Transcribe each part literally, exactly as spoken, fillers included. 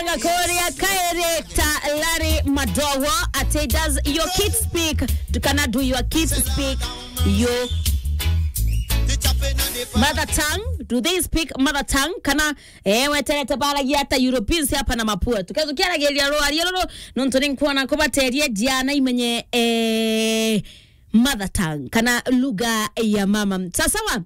Gakuria kairi ta Larry Madowo ati, does your kids speak? Kana do your kids speak your mother tongue? Do they speak mother tongue? Kana, eh, weterete baragia ata Europeans hapa na mapua? Tukezo kiaragiria rwaria ruru, nontu ni nkuona kubateria jana imenye, eh, mother tongue, kana lugha ya mama. Sawa sawa.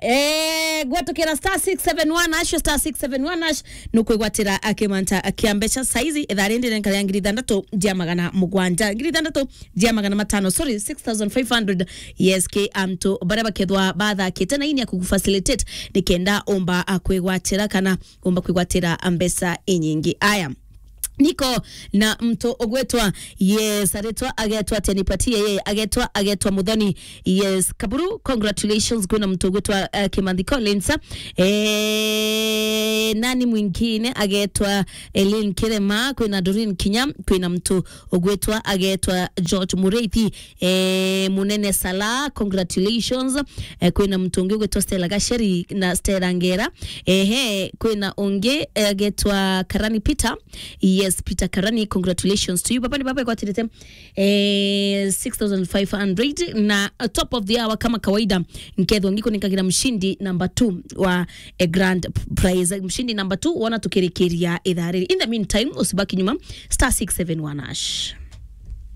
Eh, gwatukira star six seven one hash, star six seven one hash, nukwigwatira akimanta akia mbeca saizi, ithaa rindi riri nkari ya ngiri ithanthatu jia magana mugwanja, ngiri ithanthatu jia magana matano, sorry, six thousand five hundred. Yes, ki antu baria bakethwa bathakite na ini ya kugufacilitate, nikenda umba akwigwatira kana umba kwigwatira mbeca inyingi. Aya. Niko na mtu ugwetwa, yes, aretwa agetwa atia, nipatie yeye, agetwa, agetwa Muthoni. Yes, Kaburu, congratulations, kwina mtu ugwetwa, eh, Kimathi Collins. Eh, nani mwingine? Agetwa Elin Kirema, kwina Doreen Kinya, kwina mtu ugwetwa agetwa George Mureithi. Eh, Munene Salah, congratulations. Eh, kwina mtu ungi ugwetwa Stella Gacheri na Stella Ngera. Ehe, kwina ungi, eh, agetwa Karani Peter. Yes, Peter Karani, congratulations to you. Baba ni baba igwatirite, eh, six thousand five hundred na, uh, top of the hour kama kawaida, nkethwa ngikuninkagira mshindi number two wa a grand prize. Mshindi number two, wona tukirikiria ithaa riri. In the meantime, usibaki nyuma, star six seven one hash.